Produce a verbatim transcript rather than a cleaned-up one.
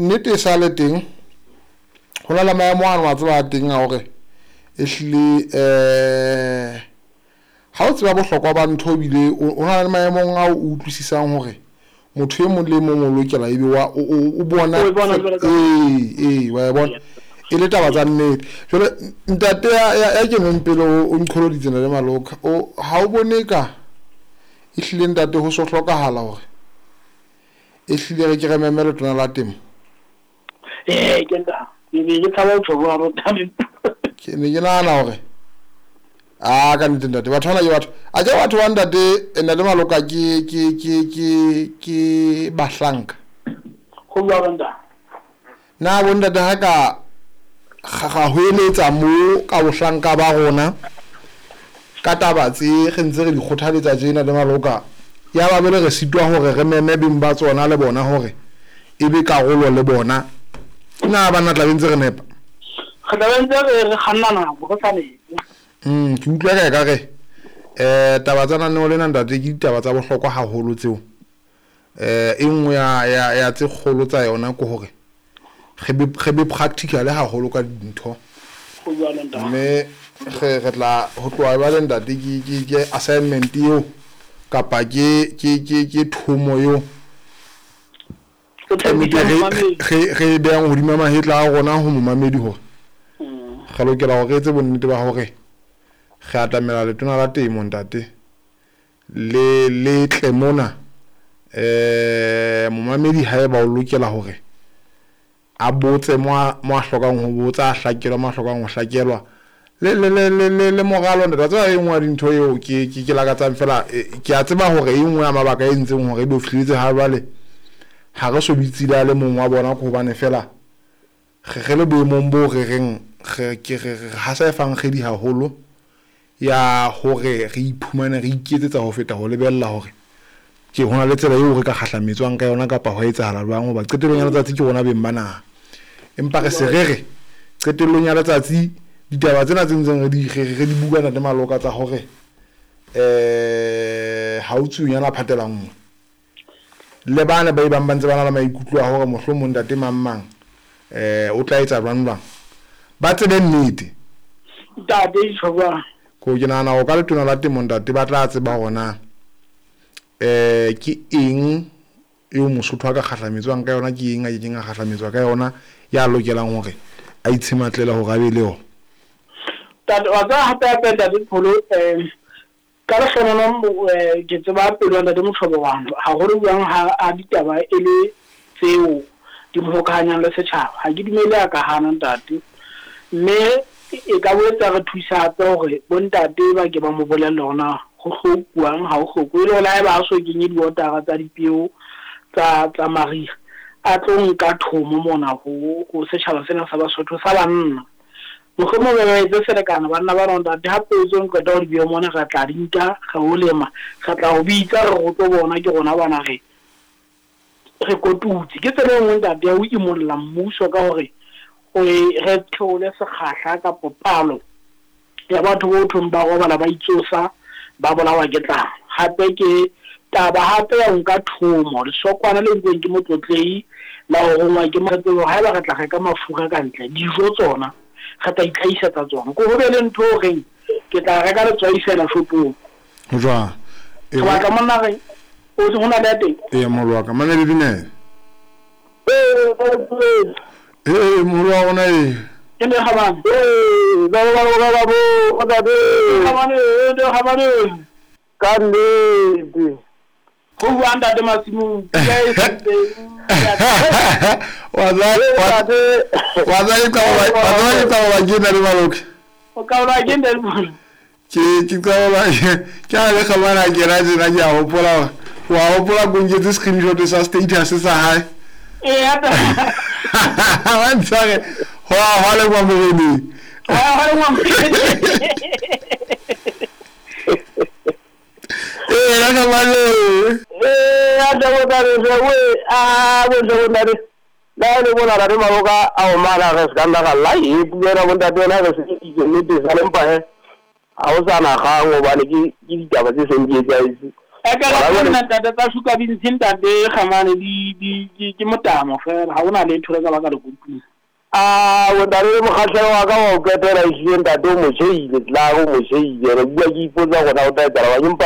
nnete e sa le teng ho na le maemo ano a tseba teng a hore ehlile eh ha o tseba bohlokwa ba ntho ebile o na le maemong a o utlwisisang hore motho e mong le mong o lokela ebe wa o bona ee ee wa bona e le taba tsa nnete. Jwale ntate ya keneng pele o nqholoditse le Maloka o ha o bone ka ehlile ntate ho so hlokahala hore ehlile re ke re meme letona la temo? Ee ke nta ke be ke tshaba ho tjho jwalo ntate. Ke ne ke nahana hore a ka nnete ntate batho bana ke batho a ke batho ba ntate ntate Maloka ke ke ke ke ke bahlanka ho jwalo ntate. Na bo ntate ha ka ga ho eletsa mo ka bohlanka ba rona ka taba tse re ntse re di kgothaletsa tjena le Maloka ya ba bele re sitwa hore re meme beng ba tsona le bona hore e be karolo le bona na bana tla bentse re nepa re tla bentse re re kganna nako re sa nepe. Mm ke utlwa ka ka re eh taba tsa naneo lena ntate ke ditaba tsa bohlokwa haholo tseo eh e nngwe ya ya ya tse kgolo tsa yona ke hore re be re be practical haholo ka dintho. Mme re re tla ho tloha ba le ntate ke ke ke assignment eo kapa ke ke ke ke thomo eo re re behang hodima mahetla a rona ho momamedi hore re lokela hore re etse bonnete ba hore re atamela letona la temo ntate le le tle mona eh momamedi haeba o lokela hore a botse mo mo a hlokang ho botsa a hlakelwa mo a hlokang ho hlakelwa le le le le le moralo ntate tseba e nngwe ya dintho eo ke ke ke lakatsang fela ke a tseba hore e nngwe ya mabaka e ntseng hore e be fihletse ha jwale ha re so bitsile le mong wa bona ko hobane fela re re le boemong bo re reng re ke re ha sa e fang kgedi haholo ya hore re iphumane re iketsetsa ho feta ho lebella hore ke hona le tsela eo re ka kgahlametswang ka yona kapa ho etsahala jwang hoba qetellong ya letsatsi ke rona beng ba naha. Empa re se re re qetellong ya letsatsi ditaba tsena tse ntseng re di re di bua ntate Maloka tsa hore eh ha o tsunyana phatela nngwe le bana ba ibang ba ntse ba na le maikutlo a hore mohlomong ntate mang mang eh o tla etsa jwang jwang ba tsebe nnete ntate tjhoba ko ke nahana ho ka letona la temo ntate ba tla tseba hore na eh ke eng eo Mosotho a ka kgahlametswang ka yona ke eng a kekeng a kgahlametswa ka yona ya lokelang hore a itshematlela hore a be le yona. Ntate wa tseba hape hape ntate Pholo eh ka lehlohonolo ke tseba pelo ya ntate Moshobowano haholo jwang ha a ditaba e le tseo di mo hokahanyang le setjhaba. Ha ke dumele a ka hana ntate mme e ka boetse re thusa hape hore bontate ba ke ba mo bolelle hore na ho hlokuwang ha ho hlokwe le hore haeba a so kenye diotara tsa dipeo tsa tsa mariha a tlo nka thomo mona ho ho setjhaba sena sa Basotho sa banna. Mohlomong ba etse selekane banna ba rona ntate ha peo tseo qeta ho di beha mona re tla di nka re o lema re tla ho bitsa re go tlo bona ke rona bana re re kotutse. Ke tsela e nngwe ntate ya ho imolla mmuso ka hore o re theole sekgahla kapa palo ya batho bo thong ba robala ba itsosa ba bolawa ke tlala. Hape ke taba hape ya nka thomo lesokwana le nkweng ke motlotlei la ho rongwa ke motsebo haeba re tla reka mafura ka ntle dijo tsona re tla itlhahisetsa tsona ko ho be le ntho o reng ke tla reka letswai fela shopong ho jwang e batla monna re o se hona le ya teng ee moholo wa ka mane le dumela ee moholo wa rona ee ke le kgabane ee ba ba ba ba bo ntate kgabane le kgabane ka nnete ho bua ntate Masimong ke e senteng wa tsa wa tsa ke qaba wa tsa ke qaba ke na le Maloka o ka ba ke ntate Maloka ke ke qaba ke a le kgabana ke ra tsena ke a hopola wa hopola go nketse screenshot sa status sa hae ee hape wa ntshware ho a ho le kwa moreneng ho a ho le kwa moreneng ee la kgabane ee a tla bo tare we a bo ntse bo ntate la le bona ra re Maloka a o mala re se ka nna ga la e puela bo ntate yona re se itse nnete sa lempa he ha o sa na kgang hobane ke ke ditaba tse seng di etsahetse. Ekare nna ntate tsa sugar beans ntate Kgamane di di ke ke motamo fela, ha hona letho le ka baka le kotula. A bontate le mokgahlelo wa ka wa ho qetela ehlile ntate o motjheile tla o motjheile re bua ke ipotsa hore na o tla etsahala eng empa